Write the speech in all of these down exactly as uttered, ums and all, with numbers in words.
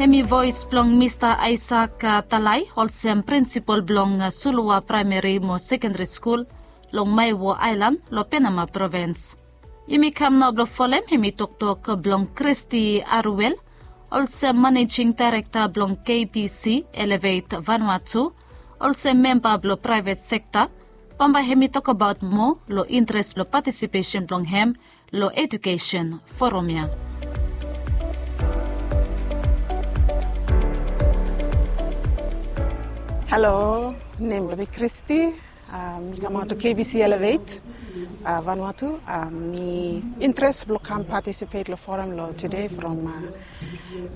Hemi voes blong Mista Aisak Talai, olsem prinsipol blong Suluwa Praemeri mo Sekendari Skul long Maewo Aelan long Penama Provins. Yumi kam nao blong folem hemi toktok blong Christy Aruel, olsem Manejing Daerekta blong K B C Elevate Vanuatu, olsem memba blong praevet sekta. Bambae hemi tokbaot moa long intres blong patisipesen blong hem long ejukesen foram ya. Halo, nem blong mi Christy. Mi kamaot long K B C Elevate Vanuatu. Mi intres blong kam patisipet long foram long tude from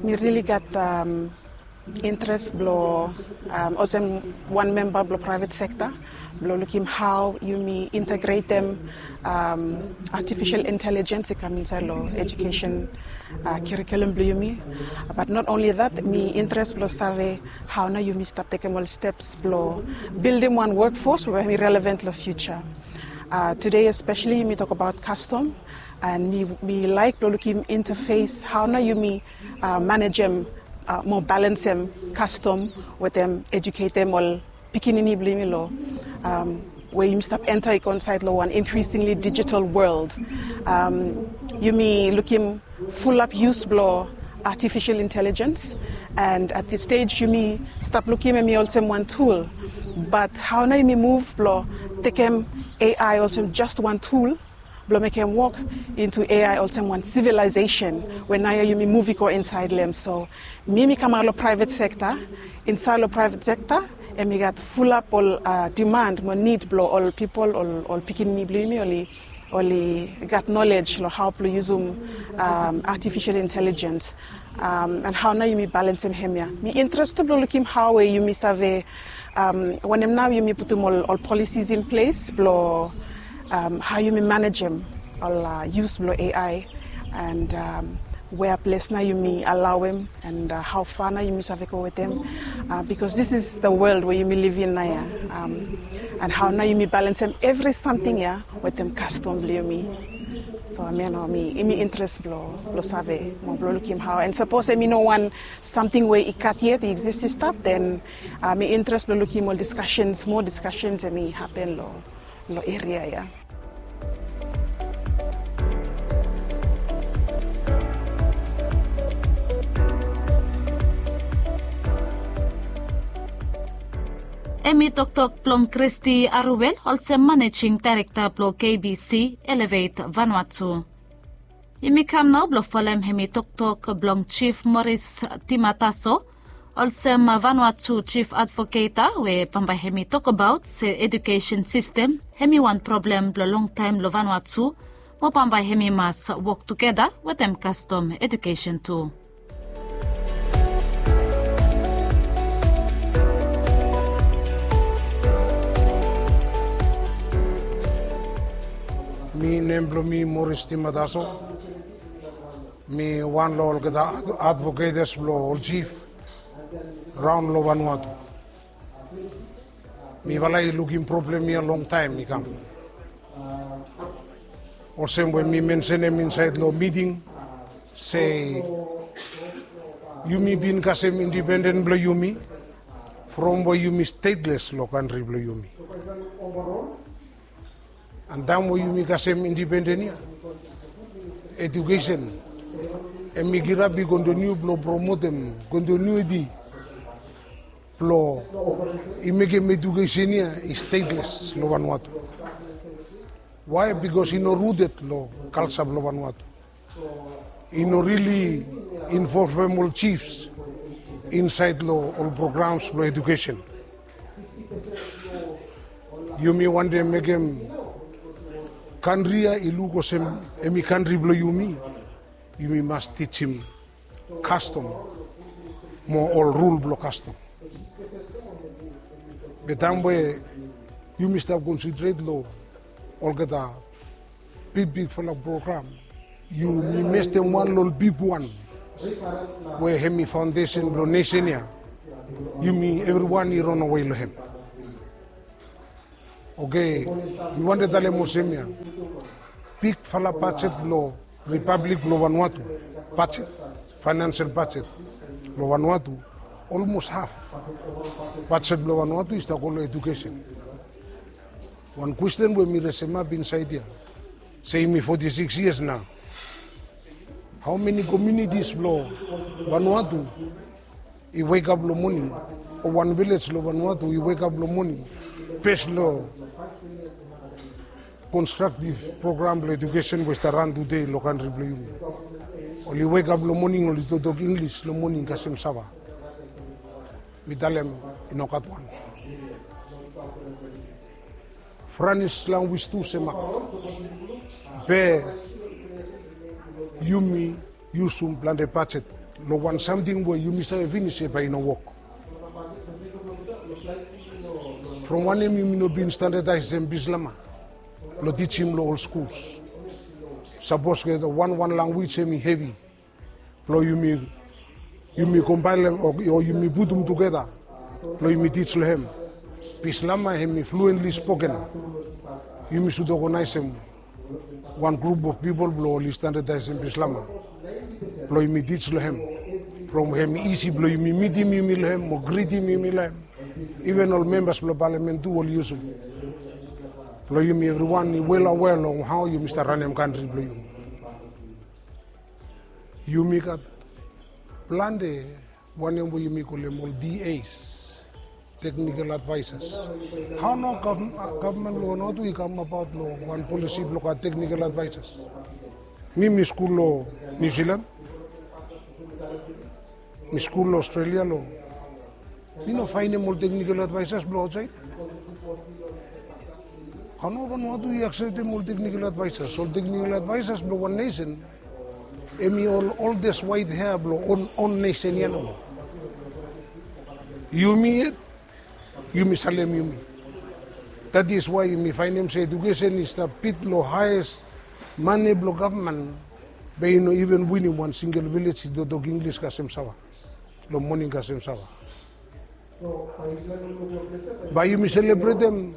mi rili gat intres blong olsem wan memba blong praevet sekta blong lukim hao yumi integretem artifisel intelijens i kam insaed long ejukesen kurikulum blong yumi. Bat not onli dat, mi intres blong save hao nao yumi stap tekem ol steps blong bildim wan wokfos we hemi relevant long fiuja. Tude espeseli yumi tokbaot kastom, and mi laek blong lukim intafes hao nao yumi manejem mo balensem kastom wetem ejuketem ol pikinini blong yumi long we yumi stap enta i go insaed long wan increasingly digital world. Yumi lukim fulap yus blong artifisel intelijens, and at this stage yumi stap lukim hemi olsem wan tul. Bat hao nao yumi muv blong tekem A I olsem jes wan tul blong mekem wok into A I olsem wan sivilaesesen we naoia yumi muv i go insaed long hem. So mi mi kamaot long praevet sekta. Insaed long praevet sekta hemi gat fulap ol diman mo nid blong ol pipol, ol pikinini blong yumi oli gat nolej long hao blong yusum artifisel intelijens. And hao nao yumi balensem hemia. Mi intres tu blong lukim hao we yumi save wanem nao yumi putum ol polisis in ples blong hao yumi manejem ol yus blong A I, and wea ples nao yumi alaoem, and hao fa nao yumi save go wetem. Bikos this is the world we yumi livim naoia. And hao nao yumi balensem evri samting ya wetem kastom blong yumi. So hemia nao mi intres blong save mo blong lukim hao, and sapos hemi no wan samting we i gat yet, i eksis, i stap, den mi intres blong lukim ol diskasens, moa diskasens hemi hapen long eria ya. Hemi toktok blong Christy Aruel, olsem Manejing Daerekta blong K B C Elevate Vanuatu. Yumi kam nao blong folem hemi toktok blong Jif Moris Timataso, olsem Vanuatu Jif Advoketa, we bambae hemi tokbaot se ejukesen sistem hemi wan problem blong longtaem long Vanuatu, mo bambae hemi mas wok tugeta wetem kastom ejukesen tu. Mi, nem blong mi Moris Timataso. Mi wan long olgeta advoketes blong ol jif raon long Vanuatu. Mifala i lukim problem ya longtaem i kam. Olsem we mi mensenem insaed long miting se yumi bin kasem indipenden blong yumi from we yumi stetles long kantri blong yumi. An taem we yumi kasem indipenden ya, ejukesen hemi kirap i kontiniu blong promotem kontinuiti blong i mekem ejukesen ya i stetles long Vanuatu. Wae? Bikos i no ruted long kalja blong Vanuatu. I no rili involvem ol jifs insaed long ol programs blong ejukesen. Yumi wantem mekem kantri ya i luk olsem hemi kantri blong yumi. Yumi mas tijim kastom mo ol rul blong kastom. Be taem we yumi stap konsentrate long olgeta bigbigfala program, yumi mestem wan long ol bigwan we hemi faondesen blong nesen ya. Yumi evriwan i ranawe long hem. Oke, mi wantem talem olsem ya. Bigfala bajet blong Ripablik blong Vanuatu, bajet, faenensel bajet, Lo Vanuatu, olmos haf bajet blo Vanuatu i stap go lo edukesen. Wan kwesten we mi resemap insaed ya, se yumi foti sikis yias nao, hao meni komiunitis blo Vanuatu i wekap lo moning, o wan vilej lo Vanuatu i wekap lo moning bes lo konstraktiv program blo edukesen we i stap ran tude lo kantri blo yumi? Oli wekap lo moning, oli toktok Inglis lo moning kasem sava? Mi talem, i no gat wan. Franis lanwis tu semap. Be yumi yusum plante bajet lo wan samting we yumi save finis, be i no wok. From wanem yumi no bin standadaesem Bislama blo tijim lo ol skuls? Sapos olgeta wan wan lanwis hemi hevi blo yumi, yumi kombaenem o, o yumi putum tugeta blo yumi tij lo hem. Bislama hemi fluentli spoken. Yumi sud oganaesem wan grup of pipol blo oli standadaesem Bislama blo yumi tij lo hem. From hemi isi blo yumi mitim yumi lo hem mo gritim yumi lo hem. Iven ol membas blo palamen tu oli yusum. Blo yumi evriwan i wel awea long hao yumi stap ranem kantri blo yumi. Yumi gat plante wanem we yumi kolem ol T As, technical advisers. Hao nao gavman lo Vanuatu i kamabaot lo wan polisi blo gat technical advisers? Mi, mi skul lo Niu Silan, mi skul lo Australia, lo mi no faenem ol technical advisers blo aotsaed. Hao nao Vanuatu i akseptem ol technical advisers? Ol technical advisers blo wan nesen, hemi ol oldest white hair blo on, on nesen ya nomo. Yumi yet yumi salem yumi. That is why yumi faenem se edukesen i stap bit lo haes mane blo gavman. Be i no iven winim wan singel vilej i toktok Inglis kasem sava, lo moning kasem sava. Bae yumi selebretem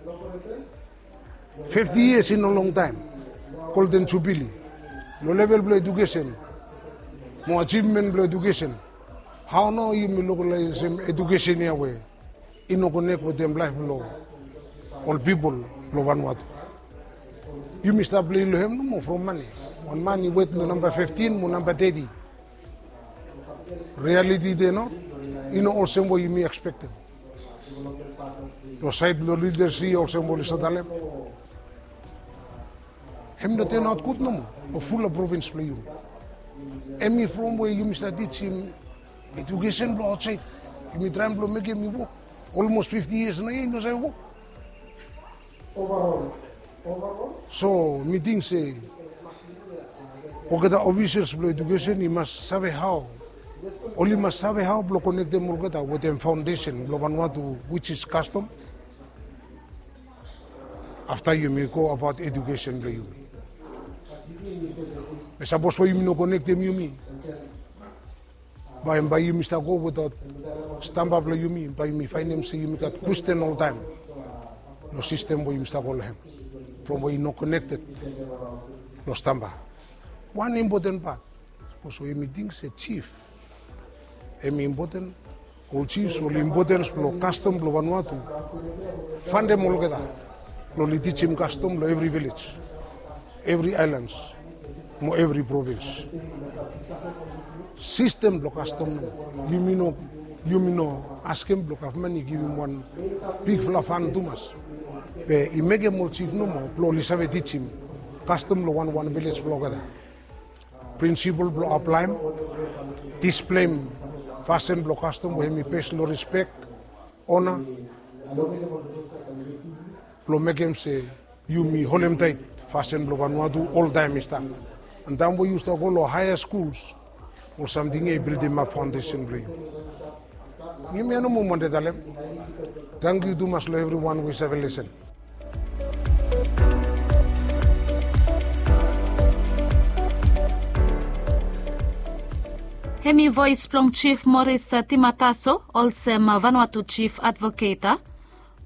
fifti yias i no longtaem, Golden Jubilee, lo level blo edukesen mo ajivmen blo edukesen. Hao nao yumi lokolaesem edukesen ya we i no konek wetem laef blo ol pipol lo Vanuatu? Yumi stap plei lo hem nomo from mane. Wan man i wet lo namba fiftin mo namba teti. Rialiti de nao i no olsem we yumi ekspektem. Lo saed blo lidasip olsem we oli save talem, hem no tanaot gud nomo lo fulap provins blo yumi. Hemi from we yumi stap tijim edukesen blo aotsaed. Yumi traem blo mekem i wok. Olmos fifti yias naoia i no save wok. So mi ting se olgeta ofisas blo edukesen i mas save hao, oli mas save hao blo konektem olgeta wetem faondesen blo Vanuatu, which is kastom. Afta yumi go abaot edukesen blo yumi. Be sapos we yumi no konektem yumi, bae, bae yumi stap go wetaot stamba blo yumi, bae yumi faenem se yumi gat kwesten oltaem lo sistem we yumi stap go lo hem, from we i no konekted lo stamba. Wan impoten pat, sapos we yumi ting se jif hemi impoten, ol jifs, ol impotens blo kastom blo Vanuatu, faondem olgeta blo oli tijim kastom lo evri vilej, evri aelans mo evri provins. Sistem blo kastom nomo, yumi no, yumi no askem blo gavman i givim wan bigfala fan tumas. Be i mekem ol jif nomo blo oli save tijim kastom lo wanwan vilej blo olgeta. Prinsipol blo aplaem, displem fasin blo kastom we hemi bes lo rispek, ona, blo mekem se yumi holem taet fasin blo Vanuatu oltaem i stap. An taem we yu stap go lo haea skuls, ol samting ya i bildimap faondesen blo yu. Hemia nomo mi wantem talem. Tangkiu tumas lo evriwan we i save lesen. Hemi voes blong Jif Moris Timataso olsem Vanuatu Jif Advoket.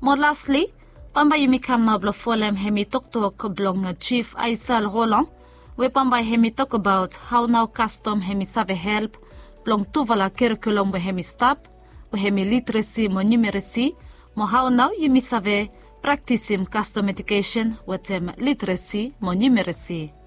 Mo lasli, bambae yumi kam nao blong folem hemi toktok blong Jif Aisel Rolong, we bambae hemi tokbaot hao nao kastom hemi save help blong tufala kerikulum we hem i stap, we hem i literesi mo niumeresi, mo hao nao yumi save praktisim kastom edukesen wetem literesi mo niumeresi.